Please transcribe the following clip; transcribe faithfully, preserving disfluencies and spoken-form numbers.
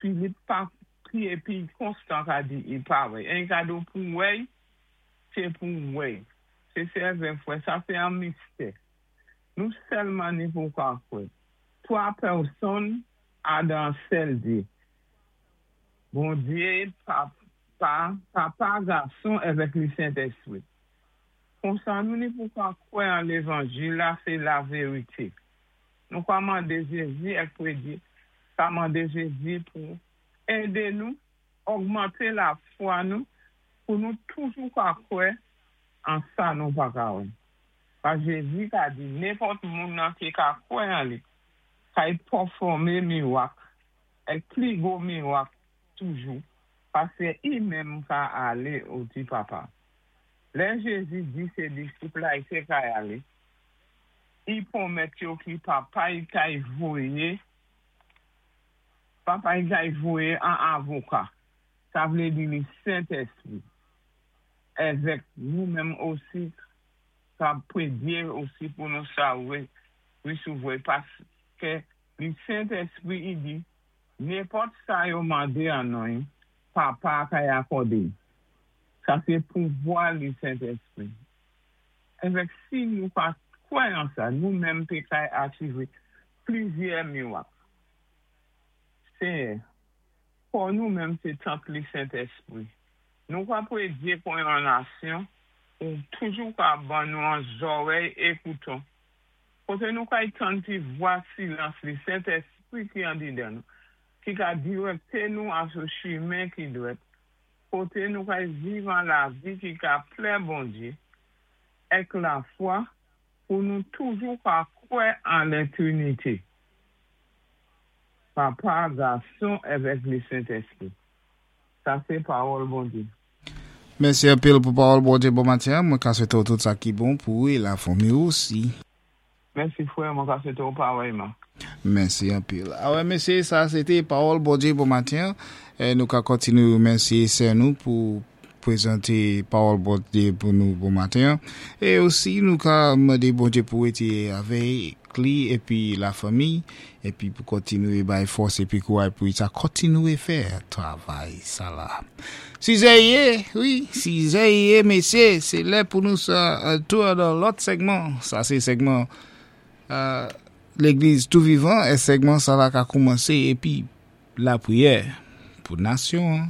Filip pa ki épi konstan ka di i pa wè. En ka di pou wè, sé pou wè. Sé sèven fwè, sa sé an mistè. Nou sèlman ni pou ka kwè. Twa pèsonn a dan sèl Dye. Bondyé, Papa, Papa, Gason, avèk li Sentèspwi. Konsa nou ni pou ka kwè an Lévanjil la, sé laverité. Nou ka mandé Jézi èk prédyé, ka mandé Jézi pou édé nou, ogmanté lafwa nou, pou nou toujou ka kwè an sa nou pa ka wè. Paski Jézi ka di, nenpòt moun nan ki ka kwè an li, kay pèfòmé miwak, èk pli gwo miwak toujou, paski i menm ka alé oti Papa. Lè Jézi di sé disip la i té kay alé, i pwomèt yo ki Papa i kay voyé, Papa i kay voyé an avoka. Sa vlé di li Sentèspwi. Èvèk nou menm osi, ka prédyé osi pou nou sa wè, wé paski li Sentèspwi i di, nenpòt sa yo mandé an non, Papa kay akòdé. Sa sé pouvwa li Sentèspwi. Èvèk si nou pa kwè an sa, nou menm pé kay achivé plizyè miwak. Sé, pou nou menm sé tanp li Sentèspwi. Nou ka prédyé pou yon nasyon, ou toujou ka ban nou an zòrèy ékoutan. Koté nou kay tann ti vwa silans li Sentèspwi ki andidan nou, ki ka direkté nou asou chimen ki dwèt. Koté nou kay viv an lavi ki ka plè Bondyé, èk lafwa, pou nou toujou ka kwè an Létrinité. Papa, Gason, avèk li Sentèspwi. Sa sé pawòl Bondyé. Mèsi anpil pou pawòl Bondyé bon maten. Mwen ka swété tout sa ki bon pou ou é lafanmi osi. Mèsi fwè, mwen ka swété ou parèyman. Mèsi anpil. Awè, mésyé, sa sé té pawòl Bondyé bon maten. É nou ka kontinué remèsyé sè nou pou pwézanté pawòl Bondyé pou nou bon maten. É osi nou ka mandé Bondyé pou été avèk li épi lafanmi épi pou kontinué bay fòs épi kouway pou sa kontinué fè travay sa la. Sizè yé, wi, sizè yé, mésyé, sé lè pou nou sa tou dan lòt segman. Sa sé segman euh, Légliz tou vivan é segman sa la ka koumansé épi lapriyè pou nasyon.